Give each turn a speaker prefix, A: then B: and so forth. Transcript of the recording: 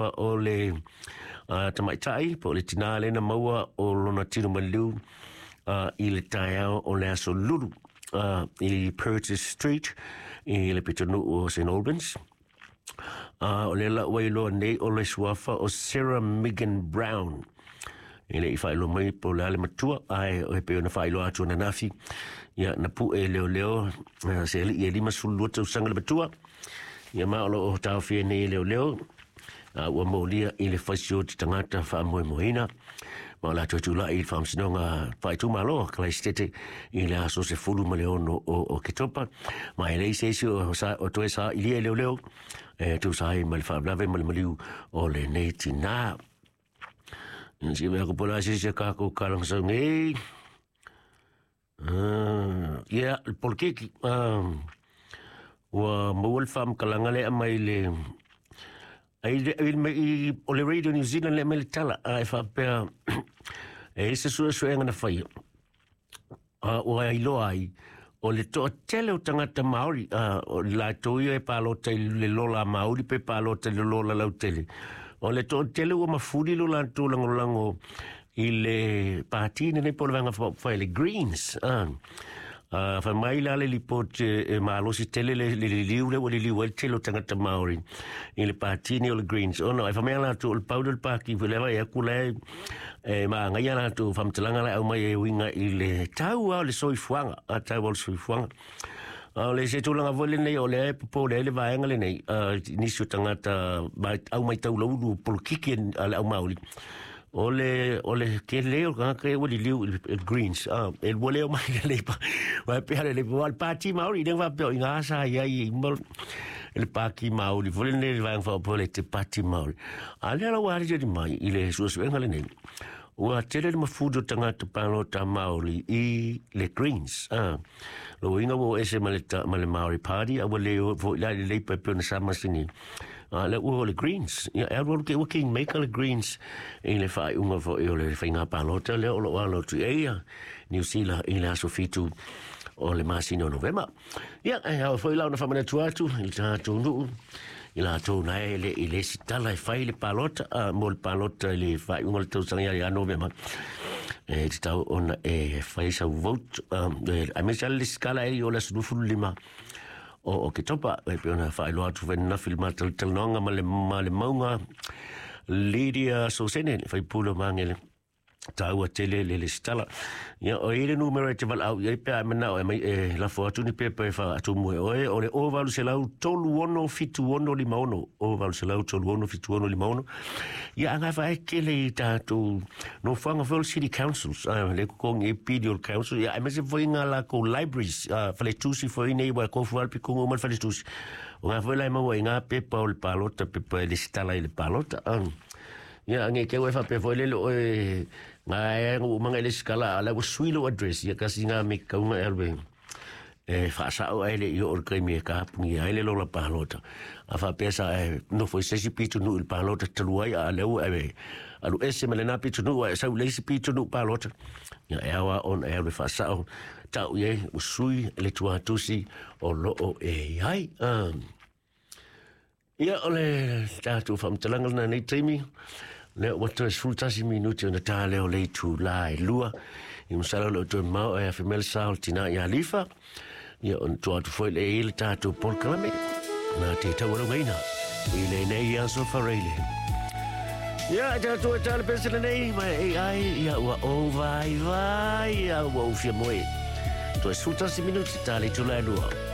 A: O le tamaitai po o le tinā lea na maua o lona tino maliu i le taeao o le aso Lulu i Purchase Street i le pitonuu o St Albans. O lea la ua iloa nei o le suafa o Sarah Megan Brown. E le i faailoa mai po o le a le matua, ae e pei ona faailoa atu ananafi, ia na pue e leoleo se alii e 52 tausaga le matua, ia ma o lo o taofia nei e leoleo, a ua molia i le faisioti tagata faamoemoeina, ma o le a toe tulai i le Faamasinoga Faaitumalo a Kalaisitete i le aso 16 o Oketopa, ma e leai se isi o toe sailia e leoleo e tusa ai ma le faalavelave ma le maliu o lenei tinā. Ia se mea ko po le a se isi a kākou kalaga sau nei. Ia, le polokiki, ua maua le faamatalaga lea mai le ai le ai mai o le Radio New Zealand lea mai le tala a e faapea e i se suesuega na faia ua iloa ai o le toatele o tagata Māori o latou ia e palota i le lola Māori pe palota i le lola lautele o le toatele ua mafuli lo latou lagolago i le pati lenei po o le Vaega Faaupufai le Greens. Fai mai la le lipoti e malosi tele le liliu lea ua liliu ai le tele o tagata Māori i le pati nei o le Greens. Ona e fai mai latou o le pau lea o le pati foi lea vaai atu la e magaia latou faamatalaga la e aumai e uiga i le tau lava o le soifuaga, a tau lava o le soifuaga. A o le se tulaga foi lenei o lea e popole ai le vaega lenei, nisi o tagata au mai taulaulu polokiki a le au Māori, o le tele o tagata ia ua liliu i le Greens, e ua le omai le Labour, vai pea le Labour, o le Pāti Māori, le faapea o i ngā sa i ai i le Pāti Māori, foi lenei le vaega faaopoopo le te Pāti Māori. A lea la ua aliali mai i le suesuega lenei, ua tele le mafuli o tagata palota Māori i le Greens. Lona uiga ua o ese ma le, ma le Māori Party, a ua le o foi la i le Labour e pei ona sa masani. A lea ua o le Greens. Ia, e alualu te ua kingmaker le Greens i le faaiuga foi o le faiga palota lea o lo o alo atu i ai ia Niu Sila i le aso 7 o le masina o Novema. Ia, e ao foi la ona faamanatu atu i le tatou nuu i latou na e le i le isi tala e fai le palota, mo le palota i le faaiuga o le tausaga ia ia Novema. E tatau ona e fai sau vote, aemaise lava le lesitala e i o le aso 25 o Oketopa, e pei ona faailoa atu foi ananafi i le matalatalanoaga ma le, ma le mauga Lydia Sosene, le faipule o Magele. Taua tele le lesitala. Ia, o i le numera e te valaau i ai pe a e manao e mai e lafo atu ni pepa e faatumu e oe, o le 0800 36 76 56, 0800 36 76 56. Ia, a ngā whae tele i tātou nofoanga foi o le City Councils, le kokongi e pili o le Council, ia, aemaise foi ngā lākou libraries, faletusi foi nei, ua kofu lava le pikonga uma le faletusi. O ngā foi la e maua i ngā pepa o le palota, pepa e lesitala i le palota. Ia, nge keu e faapea foi lele oe ngā e ngu umanga i le sikala, a la ua sui lou address, ia kasi ngā me kaunga e alu e e whaasao ai le i o le kaimi e kapungi ai le lola palota. A whaapea sa e nofo i se isi pitonuu i le palota talu ai, a lea ua e alu ese ma lena pitonuu a e sau i le isi pitonuu palota. Ia e ao a ona e alu e whaasao tau i ai ua sui le tuatusi o loo e i ai. Ia, o le tatou faamatalaga lena nei taimi, lea ua toe 11 minuti ona ta lea o le itulā e 2. I masalo o lea ua toe mamao ae afe mai le sa o le tinā ia Lifa. Ia, ona tua atu foi lea i le tatou polokalame. Na te taualaugaina i lenei aso faraile. Ia, e tatou e tā le pesele nei, ma e ai, ia ua ou vai vai, ia ua ou fia moe. Toe 11 minuti ta le itulā e 2.